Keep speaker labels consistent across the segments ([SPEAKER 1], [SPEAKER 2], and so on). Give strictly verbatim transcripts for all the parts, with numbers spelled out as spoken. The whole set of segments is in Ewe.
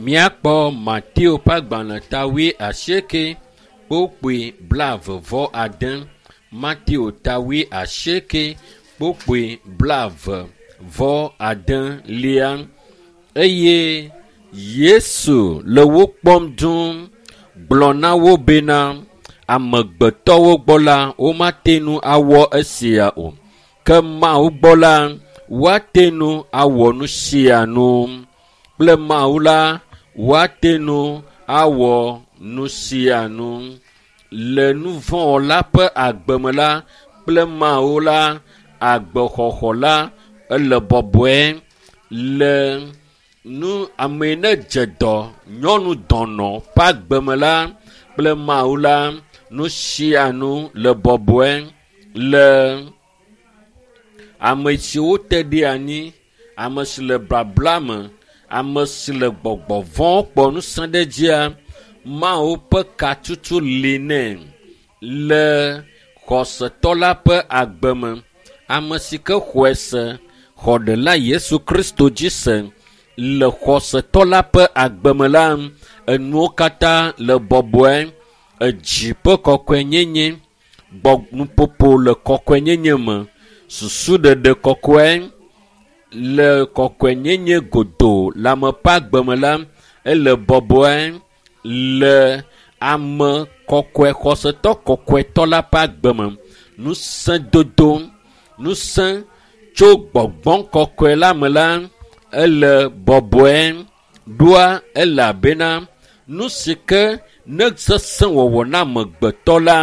[SPEAKER 1] Míakpɔ Mateo ƒe agbalẽ ta wuiasieke kpokpoe blaeve vɔ ade. Mateo ta wuiasieke kpokpoe blaeve vɔ ade lia eye Yesu le wo kpɔm dũu gblɔ na wo bena amegbetɔwo gbɔ la womate ŋu awɔ esia o ke Mawu gbɔ la woate ŋu awɔ nu sia nu kple Mawu la woate ŋu awɔ nu sia nu le nu vɔ̃wɔla ƒe agbeme la kple Mawu la agbexɔxɔ la ele bɔbɔe le nu ame ne dze dɔ nyɔnu dɔnɔ ƒe agbeme la kple Mawu la nu sia nu le bɔbɔe le ame siwo te ɖe anyi ame si le babla me ame si le gbɔgbɔ vɔ̃ kpɔ ŋusẽ ɖe dzia Mawu ƒe katutu li nɛ le xɔsetɔ la ƒe agbe me ame si ke xɔe se xɔ ɖela Yesu Kristo dzi se le xɔsetɔ la ƒe agbe me la enuwo katã le bɔbɔe edzi ƒe kɔkɔenyenye gbɔ nuƒoƒo le kɔkɔenyenye me susuɖeɖe kɔkɔe le kɔkɔenyenye godoo le ame ƒe agbe me la ele bɔbɔe le ame kɔkɔe xɔsetɔ kɔkɔetɔ la ƒe agbe me ŋusẽdodo ŋusẽ tso gbɔgbɔ kɔkɔe la me la ele bɔbɔe ɖoa elabena nu si ke ne sesẽ wɔwɔ na amegbetɔ la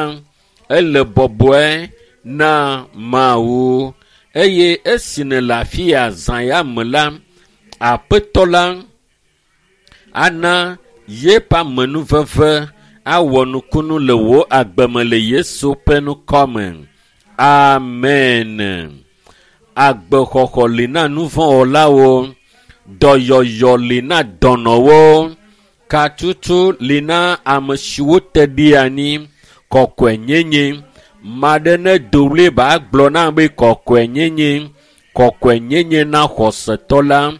[SPEAKER 1] ele bɔbɔe na Mawu eye esi nèle afi ya zã ya me la aƒetɔ la ana yeƒe amenuveve awɔ nukunu le wò agbeme le Yesu ƒe ŋkɔme. Amen. Agbexɔxɔ li na nuvɔ̃wɔlawo, dɔyɔyɔ li na dɔnɔwo, katutu li na ame siwo te ɖe anyi, kɔkɔenyenye. Maɖe ne do ɣli ba gblɔ na be kɔkɔenyenye, kɔkɔenyenye na xɔsetɔ la,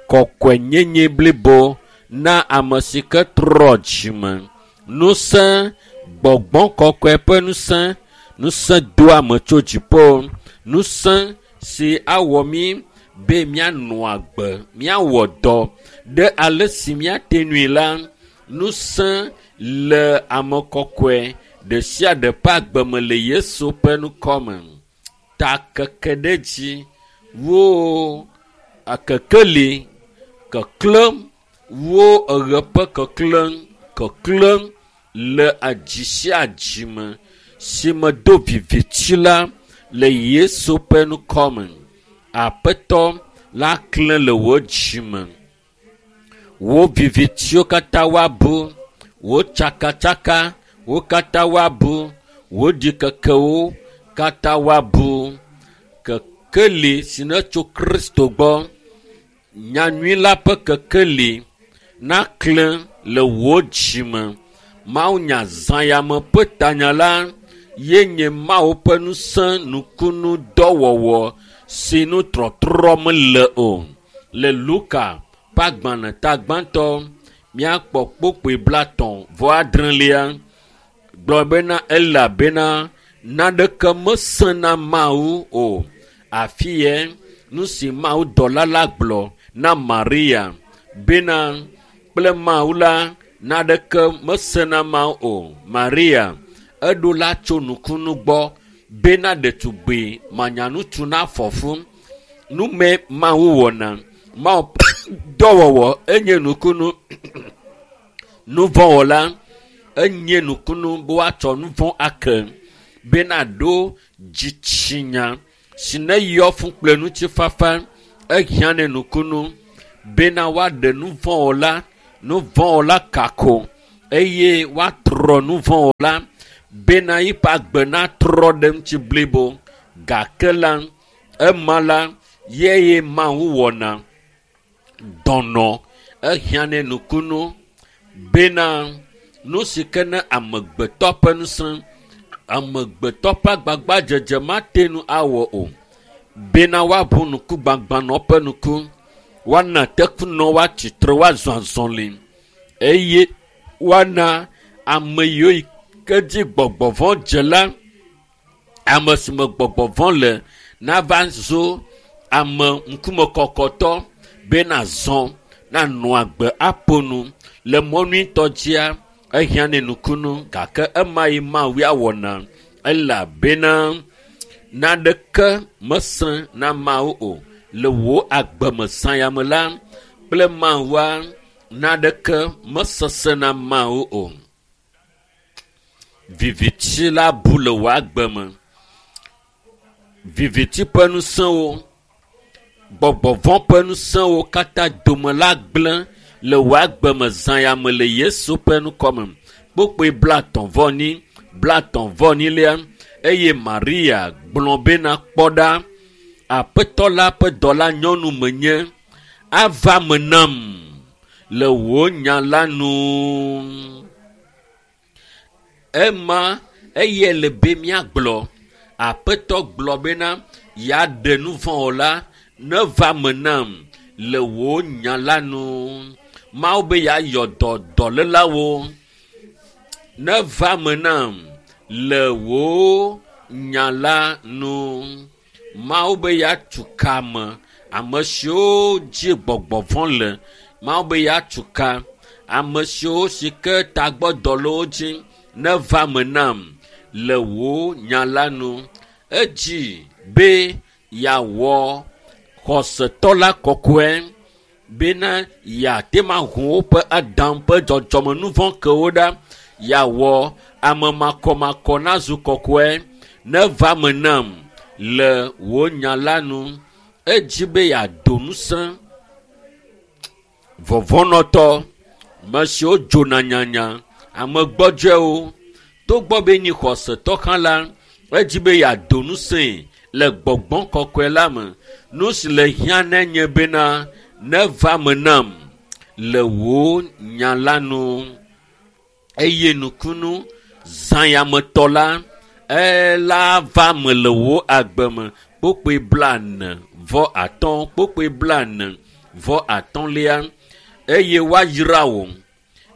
[SPEAKER 1] kɔkɔenyenye blibo na ame si ke trɔ dzime. Ŋusẽ, gbɔgbɔ kɔkɔe ƒe ŋusẽ, ŋusẽ doa ame tso dziƒo, ŋusẽ si awɔ mí be míanɔ agbe, míawɔ dɔ ɖe ale si míate ŋui la, ŋusẽ le ame kɔkɔe ɖe sia ɖe ƒe agbeme le Yesu ƒe ŋkɔme. Ta keke ɖe dzi wo kekeli keklẽm wo eɣe ƒe keklẽ keklẽm le edzi sia dzi me si me do viviti la le Yesu ƒe ŋkɔme. Aƒetɔ la klẽ le wò dzime. Wò vivitiwo katã woabu, wò tsakatsaka wo katã woabu, wò ɖikekewo katã woabu. Kekeli si ne tso Kristo gbɔ, nyanyui la ƒe kekeli naklẽ le wò dzime. Mawunya zã ya me ƒe tanya la ye nye Mawu ƒe ŋusẽ nukunu dɔwɔwɔ si nu trɔtrɔ mele o. Le Luka ƒe agbalẽ ta gbãtɔ míakpɔ kpokpoe blatɔ̃ vɔ adrelia gblɔ bena elabena naneke mesẽ na Mawu o. Afi yɛ nu si Mawu dɔla la gblɔ na Maria bena kple Mawu la naneke mesẽ na Mawu o. Maria eɖo la tso nukunu gbɔ bena ɖetugbi manyanutu nafɔ fu. Nume Mawu wɔna Mawu dɔwɔwɔ enye nukunu nuvɔ̃wɔla enye nukunu be woatsɔ nuvɔ̃ ake bena ɖo dzitsinya si ne yɔ fũ kple ŋutifafa ehiã ne nukunu bena woaɖe nuvɔ̃wɔla nuvɔ̃wɔla kako eye woatrɔ nuvɔ̃wɔla bena yiƒe agbe natrɔ ɖe ŋuti blibo gake la ema la yeye Mawu wɔna dɔnɔ ehiã ne nukunu bena nu si ke ne amegbetɔ ƒe ŋusẽ amegbetɔ ƒe agbagbadzedze mate ŋu awɔ o bena woaʋu ŋku gbagbãnɔ ƒe ŋku woana tekunɔ woatsitre woazɔ azɔli Eye woana ame yiwo yi ke dzi gbɔgbɔ vɔ̃ dze la, ame si me gbɔgbɔ vɔ̃ le nava zu ame ŋkumekɔkɔtɔ be nazɔ nanɔ agbe aƒo nu le mɔ nyuitɔ dzia ehiã ne nukunu gake ema yi Mawu awɔna elabena naneke mesẽ na Mawu o le wò agbeme zãyame la kple Mawua naneke mesesẽ na Mawu o. Viviti la bu le wò agbe me. Viviti ƒe ŋusẽwo, gbɔgbɔ vɔ̃ ƒe ŋusẽwo katã dome la gblẽ le wò agbe me zãyame le Yesu ƒe ŋkɔme. Kpukpui blatɔ̃ vɔ enyi, blatɔ̃ vɔ enyilia eye Maria gblɔ bena kpɔ ɖa, Aƒetɔ la ƒe dɔla nyɔnu menye, ava me nam le wò nya la nu. Ema eye le be míagblɔ. Aƒetɔ gblɔ bena yeaɖe nu vɔ̃ o la, neva me nam le wò nya la nu. Mawu be yeayɔ dɔ dɔlélawo. Neva me nam le wò nya la nu. Mawu be yeatu ka ame, ame siwo dzi gbɔgbɔ vɔ̃ le. Mawu be yeatu ka ame siwo si ke tagbɔdɔ le wo dzi neva me nam le wò nya la nu. Edzi be yeawɔ xɔsetɔ la kɔkɔe bena yeate ŋu ahu woƒe Adam ƒe dzɔdzɔmenuvɔ̃ kewo ɖa. Yeawɔ ame makɔmakɔ nazu kɔkɔe neva me nam le wò nya la nu. Edzi be yeado ŋusẽ vɔvɔ̃nɔtɔ, ame siwo dzona nyanya, ame gbɔdzɔewo. Togbɔ be nyi xɔsetɔ hã la, edzi be yeado ŋusẽe le gbɔgbɔ kɔkɔe la me. Nu si le hiã ne nye bena neva me nam le wò nya la nu. Eye nukunu zãyametɔ la ela va me le wò agbe me. Kpukpui blaene vɔ atɔ̃, kpukpui blaene vɔ atɔ̃lia eye woayra wò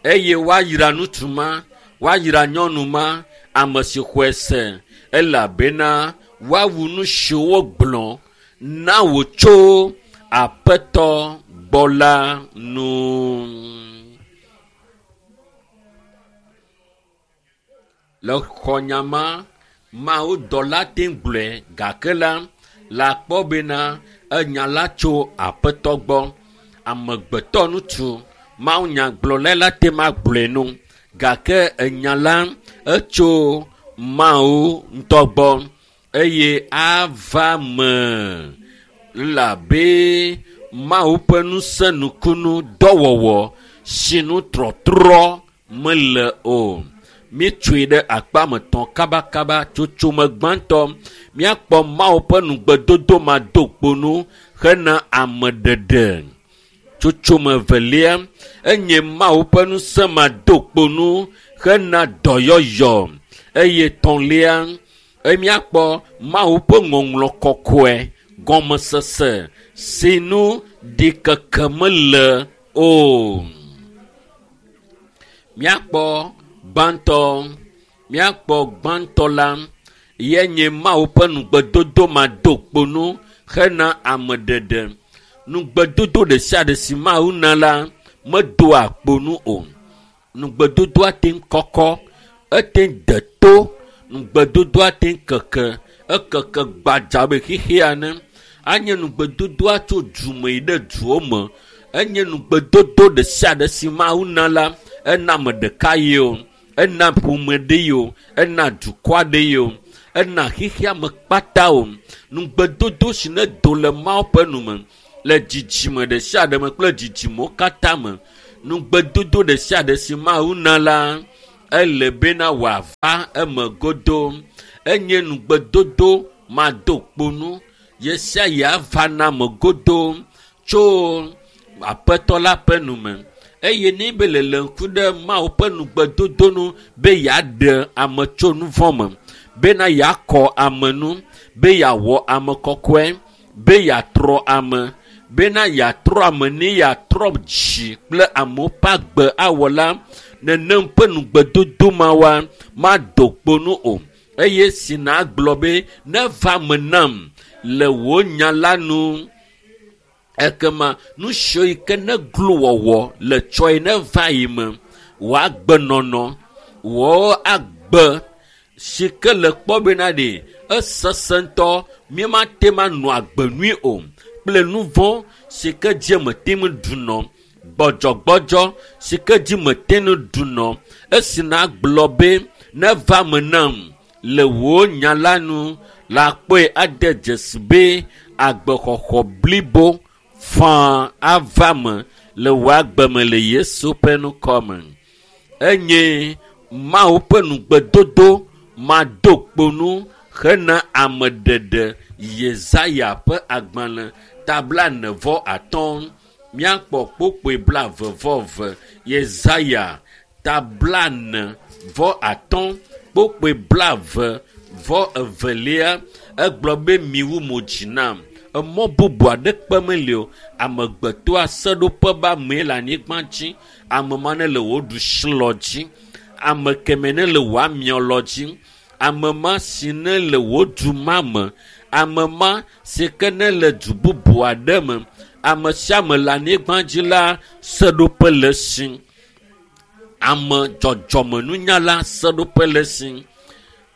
[SPEAKER 1] eye woayra ŋutsu ma, woayra nyɔnu ma, ame si xɔe se elabena woawu nu siwo wogblɔ na wò tso Aƒetɔ gbɔ la nu. Le xɔnya ma, Mawu dɔla te ŋu gblɔe gake la, le akpɔ bena enya la tso Aƒetɔ gbɔ. Amegbetɔ ŋutsu Mawu nyagblɔla la te ŋu agblɔe nu gake enya la etso Mawu ŋutɔ gbɔ eye ava me elabe Mawu ƒe ŋusẽ nukunu dɔwɔwɔ si nu trɔtrɔ mele o. Míetsoe ɖe akpa metɔ̃ kabakaba tsotsome gbãtɔ míakpɔ Mawu ƒe nugbedodo ma do kpo nu hena ameɖeɖe. Tsotsome evelia enye Mawu ƒe ŋusẽ ma do kpo nu hena dɔyɔyɔ eye tɔ̃lia míakpɔ Mawu ƒe ŋɔŋlɔ kɔkɔe gɔmesese si nu ɖikeke mele o. Míakpɔ gbãtɔ, míakpɔ gbãtɔ la ye nye Mawu ƒe nugbedodo ma do kpo nu hena ameɖeɖe. Nugbedodo ɖe sia ɖe si Mawu na la medoa kpo nu o. Nugbedodoa te ŋu kɔkɔ, ete ŋu de to, nugbedodoa te ŋu keke, ekeke gbadza abe xexea ene. Anye nugbedodoa tso du me yi ɖe duwo me. Enye nugbedodo ɖe sia ɖe si Mawu na la, ena ame ɖeka ye o, ena ƒome ɖe ye o, ena dukɔ aɖe ye o, ena xexea me kpata o. Nugbedodo si ne do le Mawu ƒe nu me le dzidzime ɖe sia ɖe me kple dzidzimewo katã me. Nugbedodo ɖe sia ɖe si Mawu na la, ele bena wòava eme godo. Enye nugbedodo mado kpo nu ye sia yi ava na ame godo tso Aƒetɔ la ƒe nu me. Eye ne be lele ŋku ɖe Mawu ƒe nugbedodo nu be yeaɖe ame tso nu vɔ̃ me, bena yeakɔ ame nu, be yeawɔ ame kɔkɔe, be yeatrɔ ame, Bena yatrɔ ame ne yatrɔ dzi kple amewo ƒe agbe awɔ la, nenem ƒe nugbedodo ma wa mado kpo nu o. Eye si nagblɔ be neva me nam le wò nya la nu. Ekema nu siwo yi ke ne glo wɔwɔ le tsɔe neva yi me, wò agbenɔnɔ, wò agbe si ke le kpɔ bena ɖe esesẽ ŋutɔ míemate ma nɔ agbe nyui o kple nu vɔ̃ si ke dzi mete ŋu ɖunɔ, gbɔdzɔgbɔdzɔ si ke dzi mete ŋu ɖunɔ. Esi nagblɔ be neva me nam le wò nya la nu la kpɔe ade dzesi be agbexɔxɔ blibo faa ava me le wò agbe me le Yesu ƒe ŋkɔ me. Enye Mawu ƒe nugbedodo mado kpo nu hena ameɖeɖe. Yesaya ƒe agbalẽ ta blaene vɔ atɔ̃ míakpɔ kpokpoe blaeve vɔ eve. Yesaya ta blaene vɔ atɔ̃ kpokpoe blaeve vɔ evelia egblɔ be miwu mo dzi nam. Emɔ bubu aɖeke meli o. Amegbetɔa seɖoƒe be amee le anyigba dzi. Ame ma ne le wò ɖusilɔ dzi. Ame kemɛ ne le wò amiɔlɔ dzi. Ame ma si ne le wò du ma me. Ame ma si ke ne le du bubu aɖe me. Ame sia ame le anyigba dzi la seɖoƒe le esi. Ame dzɔdzɔmenunyala seɖoƒe le esi.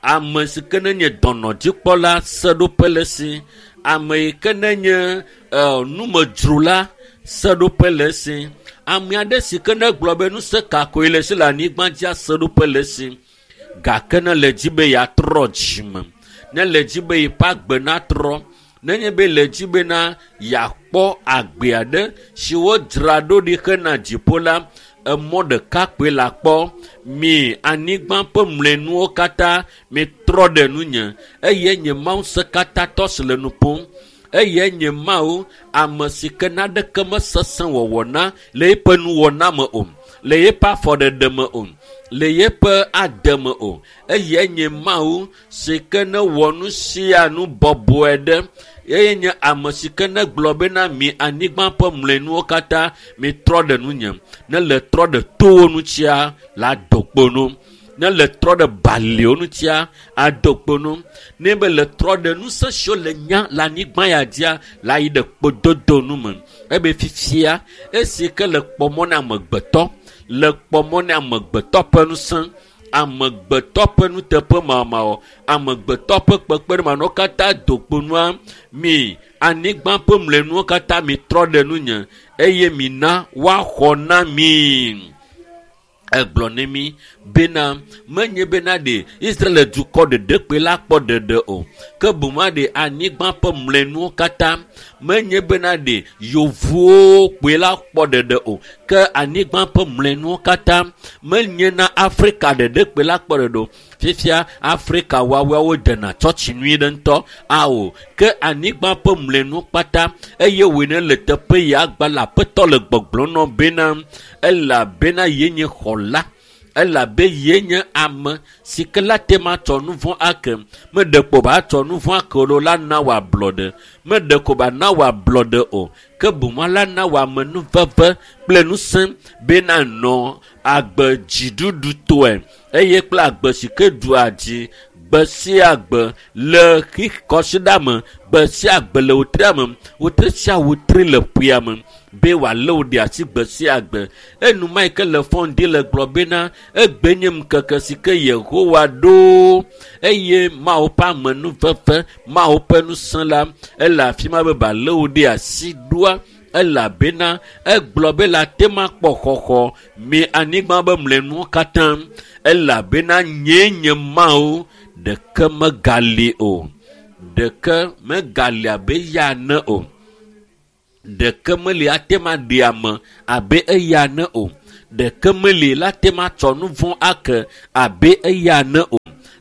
[SPEAKER 1] Ame si ke ne nye dɔnɔdzikpɔla seɖoƒe le esi. Ame yi ke ne nye e, numedzrola seɖoƒe le esi. Ame aɖe si ke ne gblɔ be ŋusẽ ka koe le esi le anyigba dzia seɖoƒe le esi. Gake ne le dzi be yeatrɔ dzime, ne le dzi be yeƒe agbe natrɔ, nenye be le dzi bena yeakpɔ agbe aɖe si wodzra ɖo ɖi hena dziƒo la, emɔ ɖeka koe le akpɔ. Mi anyigba ƒe mlɔenuwo katã mitrɔ ɖe nunye eye nye Mawu ŋusẽkatãtɔ si le nu ƒom. Eye nye Mawu ame si ke naɖeke mesesẽ wɔwɔ na le eƒe nuwɔna me o, le eƒe afɔɖeɖe me o, le eƒe ade me o. Eye nye Mawu si ke ne wɔ nu sia nu bɔbɔe ɖe. Eye nye ame si ke ne gblɔ bena mi anyigba ƒe mlɔenuwo katã mitrɔ ɖe nunye. Ne le trɔ ɖe towo ŋutia la do kpo nu. Ne le trɔ ɖe baliwo ŋutia ado kpo nu. Ne be le trɔ ɖe ŋusẽ siwo le nya le anyigba ya dzia la yi ɖe kpododo nu me. Ebe fifia esi ke le kpɔ mɔ na amegbetɔ, le kpɔ mɔ na amegbetɔ ƒe ŋusẽ, amegbetɔ ƒe nuteƒemawɔmawɔ, amegbetɔ ƒe kpekpeɖeŋu katã do kpo nua, mi anyigba ƒe mlɔenuwo katã mitrɔ ɖe nunye eye mina woaxɔ na mi. Egblɔ ne mi bena menye bena ɖe Israel dukɔ ɖeɖe kpoe la kpɔ ɖeɖe o, ke boŋ ɖe anyigba ƒe mlɔenuwo katã menye bena ɖe yevuwo kpoe la kpɔ ɖeɖe o, ke anyigba ƒe mlɔenuwo katã menye na Afrika ɖeɖe kpoe la kpɔ ɖeɖe o. Fifia Afrika woawoawo dena tsɔtsi nyui ɖe ŋutɔ ao, ke anyigba ƒe mlɔenuwo kpata eye wòe ne le teƒe ya gba le aƒetɔ le gbɔgblɔm nɔ bena elabena ye nye xɔla, elabe ye nye ame si ke la te ma tsɔ nu vɔ̃ ake. Meɖe ko ba tsɔ nu vɔ̃ ake o la na wò ablɔɖe. Meɖe ko ba na wò ablɔɖe o, ke boŋ la na wò amenuveve kple ŋusẽ bena nɔ agbe dziɖuɖutɔe eye kple agbe si ke ɖua dzi gbe sia gbe le kɔsiɖa me, gbe sia gbe le wotria me, wotri sia wotri le ƒea me be wòalé wò ɖe asi gbe sia gbe. Enuma yi ke le fɔŋdi le gblɔ bena egbe nye ŋkeke si ke Yehowa ɖo eye Mawu ƒe amenuveve, Mawu ƒe ŋusẽ la ele afi ma be wòalé wò ɖe asi ɖoa elabena egblɔ be la te ma kpɔ xɔxɔ mi anyigba be mlɔenuwo katã elabena nyee nye Mawu ɖeke megali o, ɖeke megali abe eya ene o, ɖeke meli ate ma ɖe ame abe eya ene o, ɖeke meli la te ma tsɔ nu vɔ̃ ake abe eya ene o,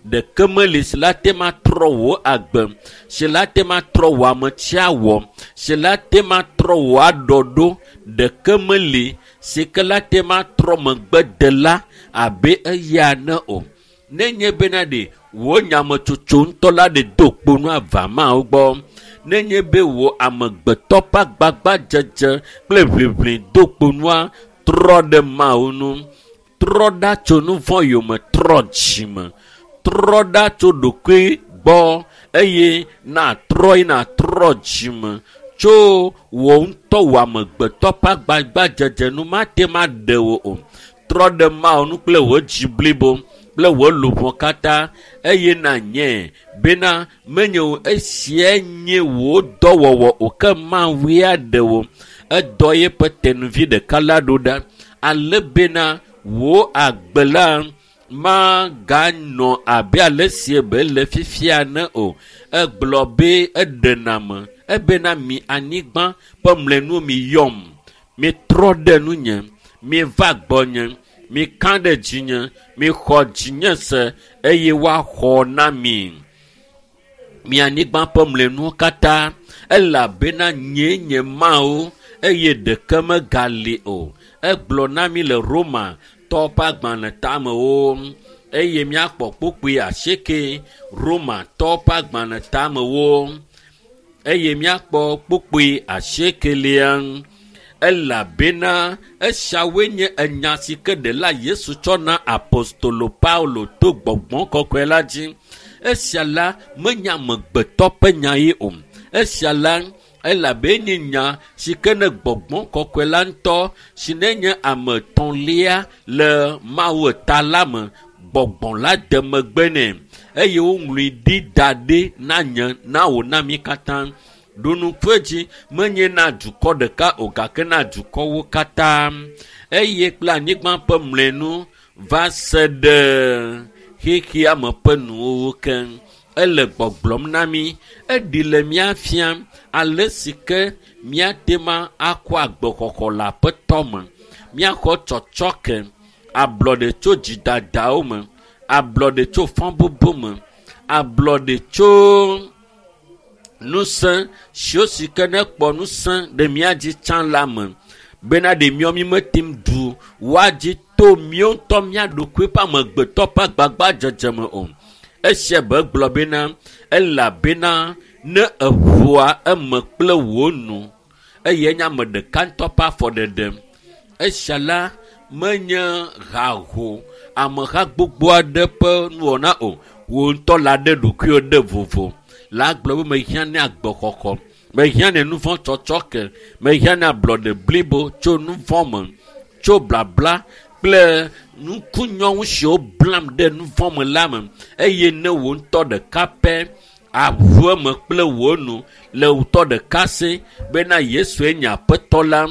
[SPEAKER 1] ɖeke meli si la te ma trɔ wò agbe, si la te ma trɔ wò ametsiawɔ, si la te ma trɔ wò aɖɔɖo, ɖeke meli si ke la te ma trɔ megbedela abe eya ene o. Nenye bena ɖe wò nyametsotso ŋutɔ la ɖe do kpo nu ava Mawu gbɔ, Nenye be wò amegbetɔ ƒe agbagbadzedze kple ʋiʋli do kponua, trɔ ɖe Mawu ŋu. Trɔ ɖa tso nu vɔ̃ yome, trɔ dzime. Trɔ ɖa tso ɖokui gbɔ eye natrɔ yi natrɔ dzime tso wò ŋutɔ wò amegbetɔ ƒe agbagbadzedze nu mate ma ɖe wò o. Trɔ ɖe Mawu ŋu kple wò dzi blibo kple wò luʋɔ katã eye nanye bena menye wò esia nye wò dɔwɔwɔ o ke Mawu ya ɖe wò. Edɔ yeƒe tenuvi ɖeka la ɖo ɖa ale bena wò agbe la maganɔ abe ale si be le fifia ne o. Egblɔ be eɖena me ebena mi anyigba ƒe mlɔenuwo mi yɔm, mitrɔ ɖe nunye, miva gbɔnye, mika ɖe dzinye, mixɔ dzinye se eye woaxɔ na mi. Mi anyigba ƒe mlɔenuwo katã elabena nyee nye Mawu eye ɖeke megali o. Egblɔ na mi le Roma tɔ ƒe agbalẽ tamewo eye míakpɔ kpukpui asieke Roma tɔ ƒe agbalẽ tamewo eye míakpɔ kpukpui asiekelia. Elabena esiawoe nye enya si ke ɖela Yesu tsɔ na apostolo Paulo to gbɔgbɔ kɔkɔe la dzi. Esia la menye amegbetɔ ƒe nya ye o. Esia la elabe nye nya si ke ne gbɔgbɔ kɔkɔe la ŋutɔ si ne nye ame etɔ̃lia le Mawu ta la me, gbɔgbɔ la de megbe nɛ eye woŋlɔe ɖi da ɖi na nye na wò na mí katã. Ɖo ŋku edzi menye na dukɔ ɖeka o gake na dukɔwo katã eye kple anyigba ƒe mlɔenu va se ɖe xexea me ƒe nuwo keŋ. Ele gbɔgblɔm na mí, eɖi le mía fiam ale si ke míate ma akɔ agbexɔxɔ le Aƒetɔ me, míaxɔ tsɔtsɔke, ablɔɖe tso dzidadawo me, ablɔɖe tso fɔbubu me, ablɔɖe tso ŋusẽ siwo si ke ne kpɔ ŋusẽ ɖe mía dzi tsã la me bena ɖe míawo mí mete ŋu ɖu woadzi to míawo ŋutɔ mía ɖokui ƒe amegbetɔ ƒe agbagbadzedze me o. Esia be gblɔ bena elabena ne eʋua eme kple wò nu eye nye ame ɖeka ŋutɔ ƒe afɔɖeɖe. Esia la menye haho ameha gbogbo aɖe ƒe nuwɔna o. Wò ŋutɔ la ɖe ɖokuiwò ɖe vovo. La gblɔ be mehiã ne agbexɔxɔ, mehiã ne nu vɔ̃ tsɔtsɔ ke, mehiã ne ablɔɖe blibo tso nu vɔ̃ me, tso blabla kple nukunyɔŋu siwo blam ɖe nu vɔ̃ me la me eye ne wò ŋutɔ ɖeka pɛ aʋu eme kple wò nu le ŋutɔ ɖeka si bena Yesue nye Aƒetɔ la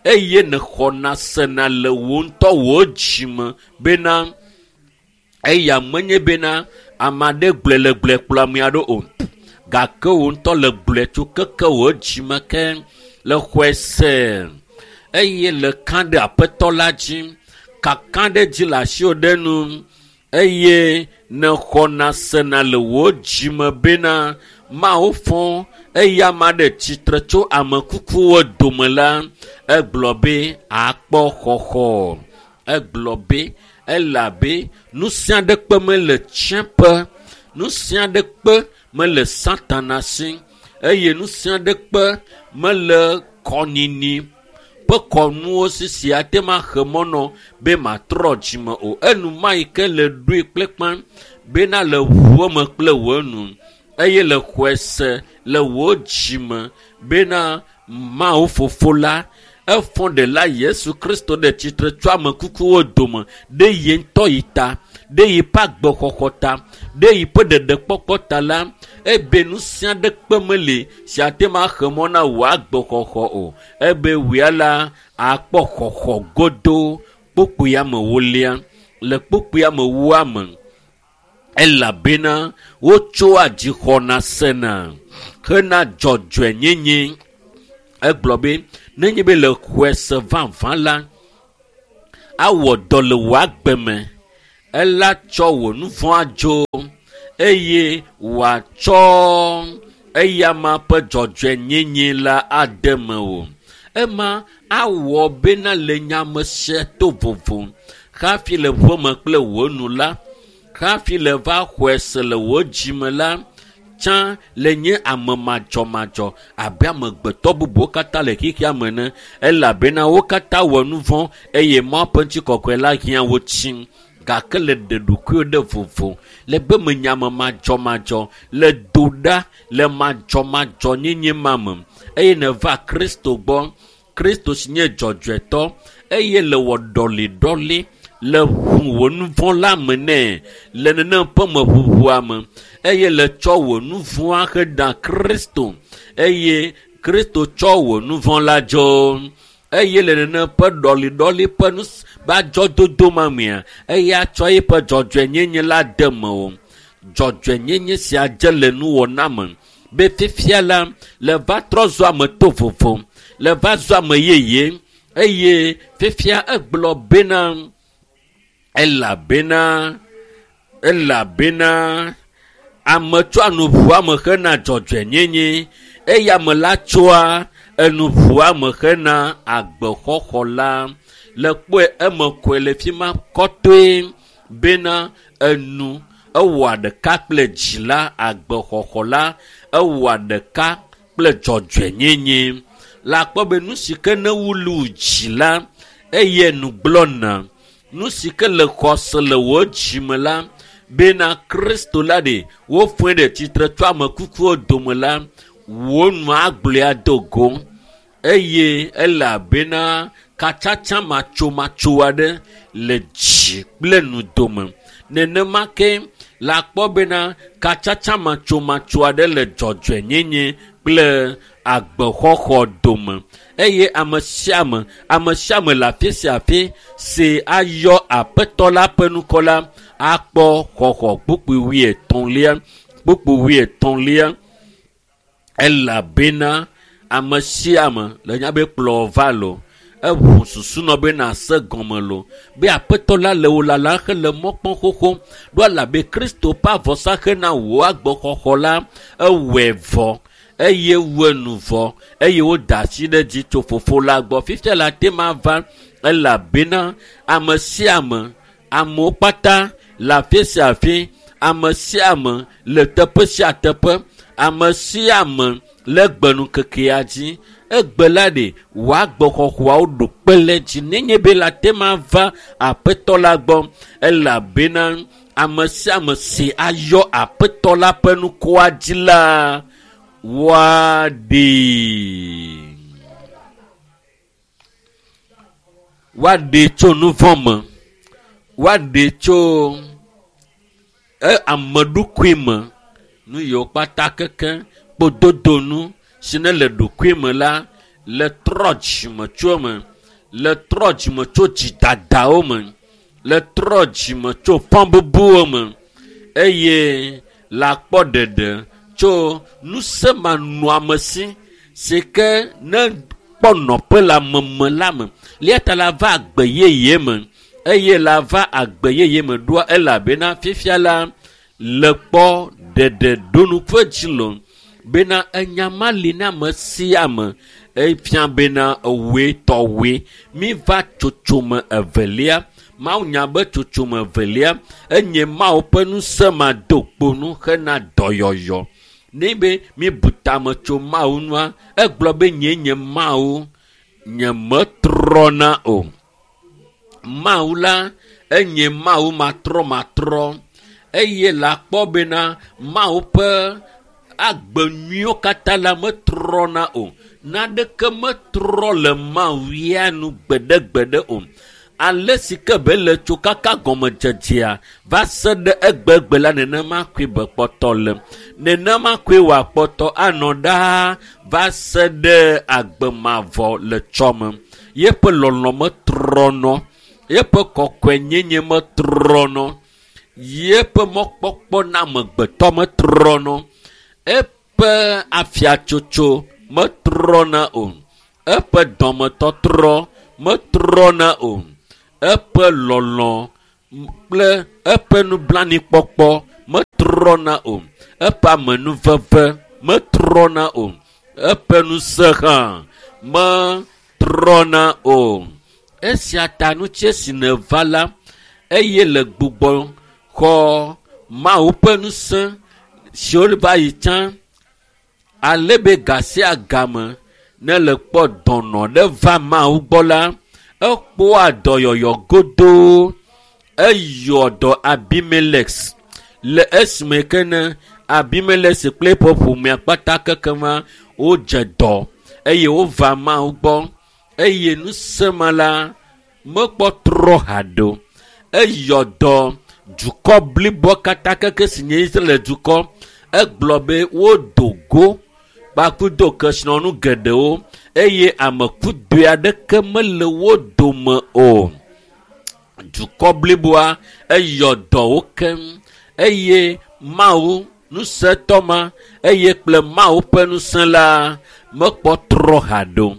[SPEAKER 1] eye nexɔna sena le wò ŋutɔ wò dzime bena eya menye bena ame aɖe gblɔe le gblɔe kplɔ ame aɖe o gake wò ŋutɔ le gblɔe tso keke wò dzime ke le xɔe se eye le ka ɖe Aƒetɔ la dzi, kaka ɖe dzi le asiwò ɖe nu eye nexɔna sena le wò dzime bena Mawu fɔ eye ame aɖe tsitre tso ame kukuwo dome la, egblɔ be akpɔ xɔxɔ. Egblɔ be elabe nu sia ɖekpe mele tsiẽƒe, nu sia ɖekpe mele Satana si eye nu sia ɖekpe mele kɔnyinyi ƒe kɔnuwo sisi ate ma xe mɔ nɔ be matrɔ dzime o. Enuma yi ke le ɖoe kple kpã bena le ʋu me kple wò nu eye le xɔe se le wò dzime bena Mawu Fofo la efɔ ɖela Yesu Kristo ɖe tsitre tso ame kukuwo dome ɖe ye ŋutɔ yi ta, ɖe yi ƒe agbexɔxɔ ta, ɖe yi ƒe ɖeɖekpɔkpɔ ta la, ebe nu sia ɖekpe meli si ate ma xe mɔ na wò agbexɔxɔ o. Ebe wòya la akpɔ xɔxɔ godo kpukpui amewolia le kpukpui amewoa me elabena wotsoa dzixɔna sena hena dzɔdzɔenyenye. Egblɔ be nenye be le xɔe se vavã la, awɔ dɔ le wò agbe me, ela tsɔ wò nu vɔ̃ adzo eye wòatsɔ eyama ƒe dzɔdzɔenyenye la ade mewò. Ema awɔ bena le nyame sia to vovo hafi le ʋu me kple wò nu la, hafi le va xɔe se le wò dzime la, Tsã le nye ame madzɔmadzɔ abe amegbetɔ bubuwo katã le xexea me ene elabena wo katã wɔ nu vɔ̃ eye Mawu ƒe ŋutikɔkɔe la hiã wo tsi. Gake le ɖe ɖokuiwo ɖe vovo le be menye ame madzɔmadzɔ le do ɖa le madzɔmadzɔnyenye ma me eye neva Kristo gbɔ. Kristo si nye dzɔdzɔetɔ eye le wɔ ɖɔliɖɔli le ʋu wò nu vɔ̃ la me nɛ le nenem ƒe meʋuʋua me eye le tsɔ wò nu vɔ̃a heda Kristo eye Kristo tsɔ wò nu vɔ̃ la dzo eye le nenem ƒe ɖɔliɖɔli ƒe nu adzɔdodo ma mea eya tsɔ eƒe dzɔdzɔenyenye la de me o. Dzɔdzɔenyenye sia dze le nuwɔna me be fifia la le va trɔ zu ame to vovo le va zu ame yeye eye fifia egblɔ bena elabena elabena ame tsɔa nu ʋua me hena dzɔdzɔenyenye eye ame la tsɔa enu ʋua me hena agbexɔxɔ la. Le kpɔe eme koe le fi ma kɔtɔe bena enu ewɔa ɖeka kple dzi la agbexɔxɔ la ewɔa ɖeka kple dzɔdzɔenyenye. Le akpɔ be nu si ke ne wulu dzi la eye nu gblɔna nu si ke le xɔse le wò dzime la bena Kristo la ɖe woƒoe ɖe tsitre tso ame kukuwo dome la wò nu agblɔe ado go eye elabena katsatsa matsomatso aɖe le dzi kple nu dome. Nenema ke le akpɔ bena katsatsa matsomatso aɖe le dzɔdzɔenyenye kple agbexɔxɔ dome eye ame sia ame ame sia ame le afi sia afi si ayɔ aƒetɔ la ƒe ŋkɔ la akpɔ xɔxɔ. Kpukpui wuietɔ̃lia kpukpui wuietɔ̃lia elabena ame sia ame le nya be kplɔ va lo eʋu susu nɔ be nase gɔme lo be aƒetɔ la le wò lalam hele mɔ kpɔm xoxo ɖo elabe Kristo ƒe avɔsa hena wò agbexɔxɔ la ewɔe vɔ eye wɔ nu vɔ eye woda asi ɖe dzi tso fofo la gbɔ. Fifia la te ma va elabena ame sia ame amewo kpata le afi sia afi ame sia ame le teƒe sia teƒe ame sia ame le gbenukekea dzi egbe la ɖe wò agbexɔxɔawo ɖo kpe le dzi nenye be la te ma va aƒetɔ la gbɔ elabena ame sia ame si ayɔ aƒetɔ la ƒe ŋkɔa dzi la woaɖee. Woaɖee tso nu vɔ̃ me, woaɖee tso ame ɖokui me nu yiwo kpata keke kpododonu si ne le ɖokui me la le trɔ dzime tso eme le trɔ dzime tso dzidadawo me le trɔ dzime tso fɔbubuwo me eye le akpɔ ɖeɖe tso ŋusẽmanɔamesi si ke ne kpɔ nɔƒe le ame me la me. Eya ta la va agbe yeye me eye la va agbe yeye me ɖoa elabena fifia la le kpɔ ɖeɖe ɖonu ƒe dzi lo bena enya ma li na ame sia ame efia bena ewoe tɔwoe. Mi va tsotsome evelia. Mawu nya be tsotsome evelia enye Mawu ƒe ŋusẽ ma do kponu hena dɔyɔyɔ. Ne be mi bu tame tso Mawu nua egblɔ be nye nye Mawu nye metrɔna o. Mawu la enye Mawu matrɔmatrɔ eye le akpɔ bena Mawu ƒe agbe nyuiwo katã la metrɔna o. Naneke metrɔ le Mawu ya nu gbeɖegbeɖe o. Ale si ke be le tso kaka gɔmedzedzea va se ɖe egbegbe la nenema koe be kpɔtɔ le. Nenema koe wòakpɔtɔ anɔ ɖaa va se ɖe agbe mavɔ le tsɔme. Yeƒe lɔlɔ̃ metrɔnɔ, yeƒe kɔkɔenyenye metrɔnɔ, yeƒe mɔkpɔkpɔ na amegbetɔ metrɔnɔ, eƒe afiatsotso metrɔna o, eƒe dɔmetɔtrɔ metrɔna o, eƒe lɔlɔ̃ kple eƒe nublanuikpɔkpɔ metrɔna o, eƒe amenuveve metrɔna o, eƒe ŋusẽ hã metrɔna o. Esia ta nutsi si neva la eye le gbugbɔ xɔ Mawu ƒe ŋusẽ Siwo va yi tsã ale be ga sia game ne le kpɔ dɔnɔ ɖe va Mawu gbɔ la, ekpɔa dɔyɔyɔ godoo. Eyɔ dɔ Abimelek le esime ke ne Abimelek kple eƒe ƒomea kpata kekema wodze dɔ eye wova Mawu gbɔ eye ŋusẽ ma la mekpɔ trɔ haɖe o. Eyɔ dɔ dukɔ bliboa katã keke si nye Israel dukɔ. Egblɔ be wodo go kpakudo kesinɔnu geɖewo eye ame kudoe aɖeke mele wo dome o. Dukɔ bliboa eyɔ dɔ wo keŋ eye Mawu ŋusẽtɔ ma eye kple Mawu ƒe ŋusẽ la mekpɔ trɔ haɖe o.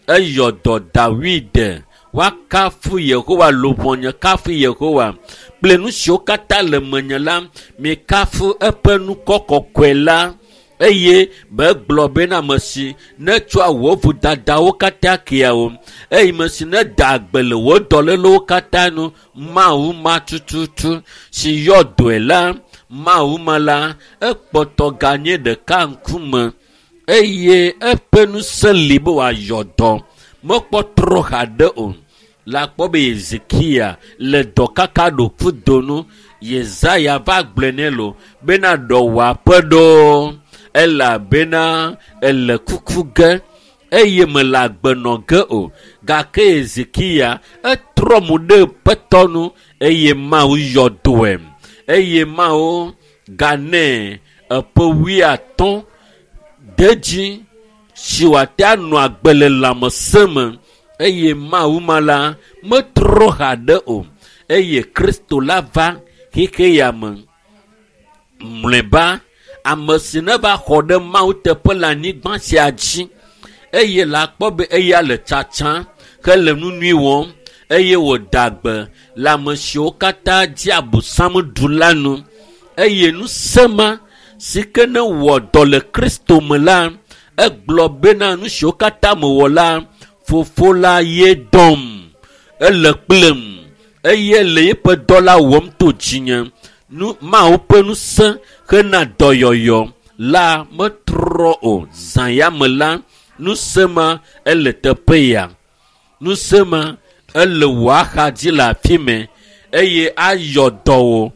[SPEAKER 1] Eyɔ dɔ Dawid. Woakafu Yehowa, luʋɔnye kafu Yehowa kple nu siwo katã le menye la, mikafu eƒe ŋkɔ kɔkɔe la. Eye megblɔ bena ame si netsɔa wò vodadawo katã kea wò, eye ame si neda agbe le wò dɔlélewo katã nu, Mawu ma tututu si yɔ dɔe la, Mawu ma la, ekpɔtɔ ganye ɖeka ŋkume eye eƒe ŋusẽ li be wòayɔ dɔ. Mekpɔ trɔ haɖe o. Le akpɔ be Hezekia le dɔ kaka ɖo kudo nu. Yesaya va gblɔe nɛ lo bena ɖɔ wò aƒe ɖo elabena ele kuku ge eye mele agbe nɔ ge o. Gake Hezekia etrɔ mo ɖe Aƒetɔ nu eye Mawu yɔ dɔe eye Mawu ganɛ eƒe wuiatɔ̃ de dzi si wòate anɔ agbe le lãmesẽ me eye Mawu ma la metrɔ haɖe o eye Kristo la va xexe ya me. Mlɔeba ame si ne va xɔ ɖe Mawu teƒe le anyigba sia dzi eye la kpɔ be eya le tsatsa hele nu nyui wɔm eye wòda agbe le ame siwo katã dzi Abosam ɖu la nu eye ŋusẽ ma si ke ne wɔ dɔ le Kristo me la, egblɔ bena nu siwo katã mewɔ la, Fofo la ye dɔm, ele kplem eye le eƒe dɔ la wɔm to dzinye. Nu Mawu ƒe ŋusẽ hena dɔyɔyɔ la metrɔ o. Zã ya me la, ŋusẽ ma ele teƒe ya. Ŋusẽ ma ele wò axadzi le afi mɛ eye ayɔ dɔ wò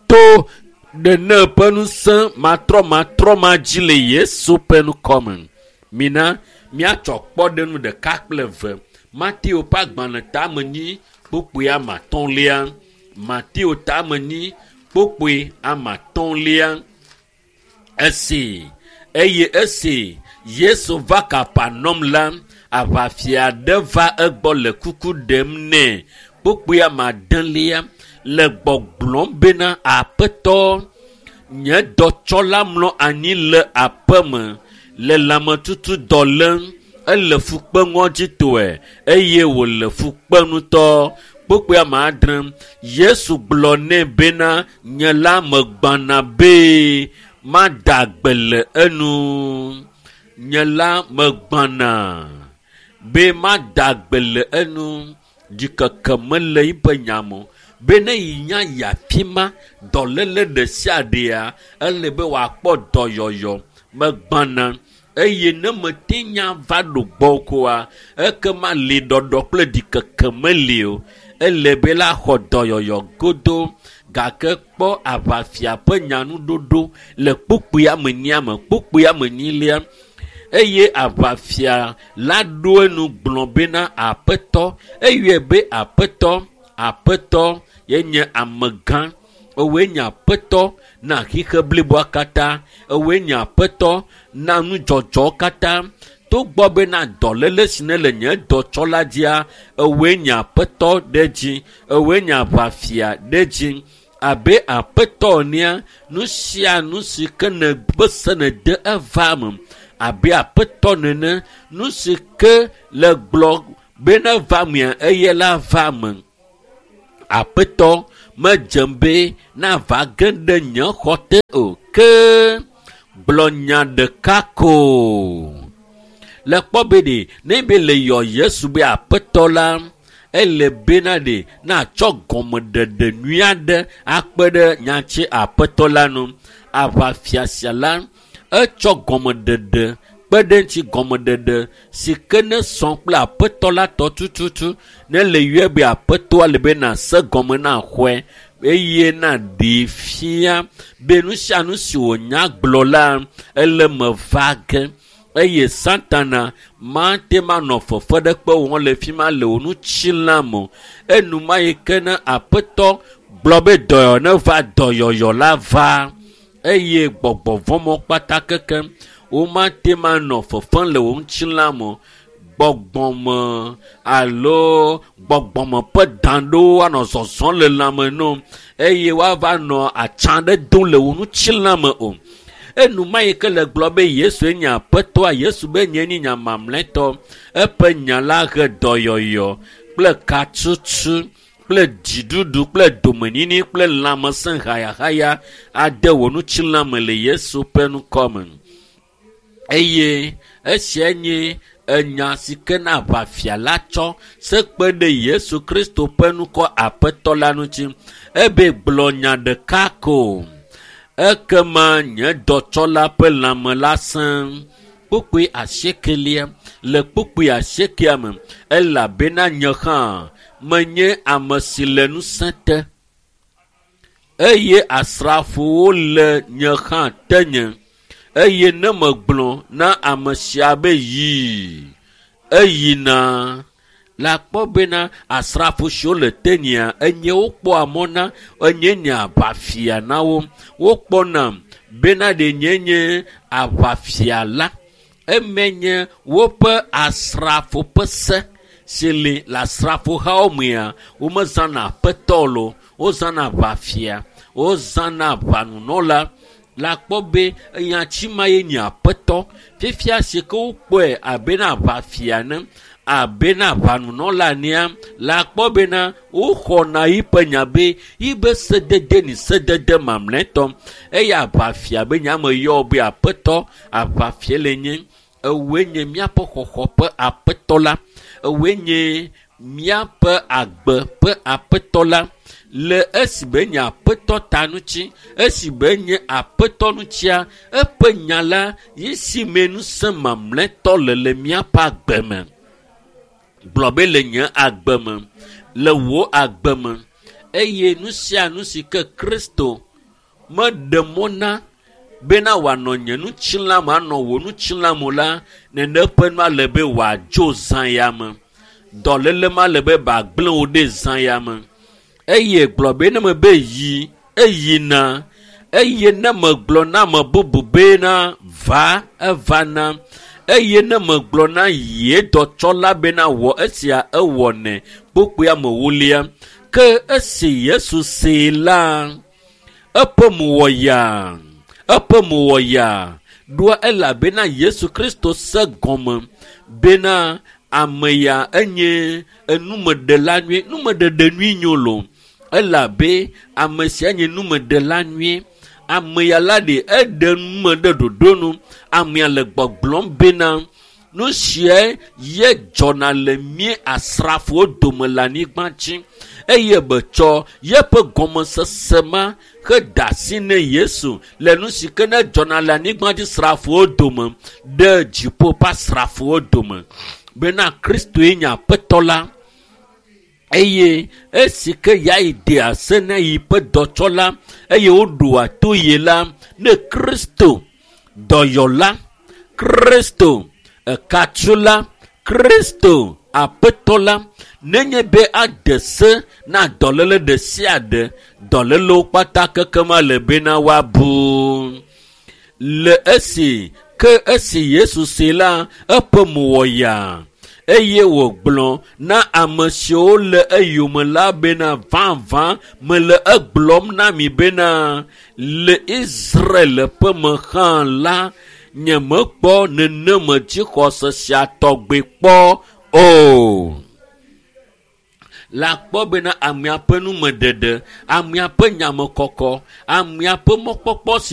[SPEAKER 1] to nene ƒe ŋusẽ matrɔmatrɔ ma dzi le Yesu ƒe ŋkɔme. Mina míatsɔ kpɔɖeŋu ɖeka kple eve. Mateo ƒe agbalẽ tame nyi kpukpui ame atɔ̃lia. Mateo tame nyi kpukpui ame atɔ̃lia. Esi eye esi Yesu va Kapernaum la, aʋafia aɖe va egbɔ le kuku ɖem nɛ. Kpukpui ame adelia le gbɔgblɔm bena Aƒetɔ, nye dɔtsɔla mlɔ anyi le aƒeme le lãmetutu dɔ lém. Ele fukpe ŋɔdzitɔe eye wòle fukpe ŋutɔ. Kpukpui ame adre. Yesu gblɔ nɛ bena nye la megbana be mada agbe le enu. Nye la megbana be mada agbe le enu. Ɖikeke mele eƒe nya me o. Be ne yi nya yi afi ma, dɔléle ɖe sia ɖea, ele be wòakpɔ dɔyɔyɔ. Megbana eye ne mete nya va ɖo gbɔ koa, ekema li ɖɔɖɔ kple ɖikeke meli o. Ele be la xɔ dɔyɔyɔ godo. Gake kpɔ aʋafia ƒe nyanuɖoɖo le kpukpui ame enyia me, kpukpui ame enyilia. Eye aʋafia la ɖo enu gblɔ bena Aƒetɔ, eyɔe be Aƒetɔ, Aƒetɔ ye nye amegã. Ewoe nye Aƒetɔ na xixe bliboa katã. Ewoe nye Aƒetɔ na nudzɔdzɔwo katã. Togbɔ bena dɔléle si ne le nye dɔtsɔla dzia, ewoe nye Aƒetɔ ɖe dzi. Ewoe nye aʋafia ɖe dzi. Abe Aƒetɔ enea, nu sia nu si ke ne be se ne de eva me. Abe Aƒetɔ nene, nu si ke le gblɔ be ne va mea, eye la va me. Aƒetɔ medzem be nava ge ɖe nye xɔ te o, ke gblɔ nya ɖeka ko. Le kpɔ be ɖe, ne be le yɔ Yesu be Aƒetɔ la, ele bena ɖe natsɔ gɔmeɖeɖe nyui aɖe akpe ɖe nyatsi Aƒetɔ la nu. Aʋafia sia la etsɔ gɔmeɖeɖe kpe ɖe ŋuti, gɔmeɖeɖe si ke ne sɔ kple aƒetɔ la tɔ tututu. Ne le yɔe be aƒetɔa le be nase gɔme na xɔe eye na ɖee fia be nu sia nu si wònya gblɔ la ele me va ge eye Satana mate manɔ fefe ɖe kpe wɔm le fi ma le wò ŋutilã me o. Enuma yi ke ne aƒetɔ gblɔ be dɔyɔ ne va, dɔyɔyɔ la va eye gbɔgbɔvɔmɔ kpata keke womate manɔ fefem le wò ŋutilã me o. Gbɔgbɔme alo gbɔgbɔme ƒe dan ɖewo anɔ zɔzɔm le lãme no eye woava nɔ atsa ɖe dom le wò ŋutilã me o. Enuma yi ke le gblɔ be Yesue nye aƒetɔa, Yesu be nye nye nya mamlɛtɔ. Eƒe nya la he dɔyɔyɔ kple katutu kple dziɖuɖu kple domenyinyi kple lãmesẽ hayahaya ade wò ŋutilã me le Yesu ƒe ŋkɔ me. Eye esia nye enya si ke na aʋafia la tsɔ se kpe ɖe Yesu Kristo ƒe ŋkɔ aƒetɔ la ŋuti. Ebe gblɔ nya ɖeka ko, ekema nye dɔtsɔla ƒe lãme la sẽ. Kpukpui asiekelia le kpukpui asiekea me, elabena nye hã menye ame si le ŋusẽ te eye asrafowo le nye hã tenye. Eye ne megblɔ na ame sia be yi, eyina. La kpɔ bena asrafo siwo le tenyea, enye wokpɔa mɔ na, enye nye aʋafia na wo. Wokpɔna bena ɖe nye nye aʋafia la. Eme nye woƒe asrafo ƒe se si li le asrafohawo mea, womezãna aƒetɔ lo, wozãna aʋafia, wozãna aʋanunɔla. La kpɔ be enyatsi ma ye nye aƒetɔ. Fifia si ke wokpɔe abe na aʋafia ne, abe na aʋanunɔla nea, la kpɔ bena woxɔna yiƒe nya be yibe sedede ni sedede mamlɛtɔ. Eye aʋafia be nya me yɔ be aƒetɔ, aʋafia le nye. Ewoe nye míaƒe xɔxɔ ƒe aƒetɔ la. Ewoe nye míaƒe agbe ƒe aƒetɔ la. Le esi be nye aƒetɔ ta ŋuti, esi be nye aƒetɔ ŋutia, eƒe nya la yi si me ŋusẽ mamlɛtɔ le le míaƒe agbe me. Gblɔ be le nye agbe me, le wò agbe me. Eye nu sia nu si ke Kristo meɖe mɔ na bena wòanɔ nye ŋutilã me, anɔ wò ŋutilã me la, nene ƒe nua le be wòadzo zã ya me. Dɔléle ma le be bagblẽ wò ɖe zã ya me. Eye gblɔ be ne me be yi, eyina. Eye ne megblɔ na ame bubu bena va, evana. Eye ne megblɔ na ye dɔtsɔla bena wɔ esia, ewɔnɛ. Kpukpuia me wolia. Ke esi Yesu see la, eƒe mo wɔ yaa. Eƒe mo wɔ yaa. Ɖoa elabena Yesu Kristo se gɔme bena ame ya enye enumeɖela nyui. Numeɖeɖe nyui nyo lo. Elabe ame sia nye numeɖela nyui. Ame ya la ɖe eɖe nume ɖe ɖoɖo nu. Amea le gbɔgblɔm bena nu sia ye dzɔna le mí asrafowo dome le anyigba dzi eye betsɔ yeƒe gɔmesese ma heda asi ne Yesu le nu si ke ne dzɔna le anyigba dzi srafowo dome ɖe dziƒo ƒe asrafowo dome bena Kristoe nye aƒetɔ la. Eye esi ke ya yi de ase na yi ƒe dɔtsɔla eye woɖoa to ye la, ne Kristo dɔyɔla, Kristo ekatsula, Kristo aƒetɔ la, nenye be ade se na dɔléle ɖe sia ɖe, dɔlélewo kpata keke ma le bena woabu. Le esi ke esi Yesu see la, eƒe mo wɔ yaa eye wògblɔ na ame siwo le eyome la bena vavã mele egblɔm na mi bena le Israel ƒe me hã la, nyemekpɔ neneme dzixɔse sia tɔgbe kpɔ o. La kpɔ bena amea ƒe numeɖeɖe, amea ƒe nyamekɔkɔ, amea ƒe mɔkpɔkpɔ si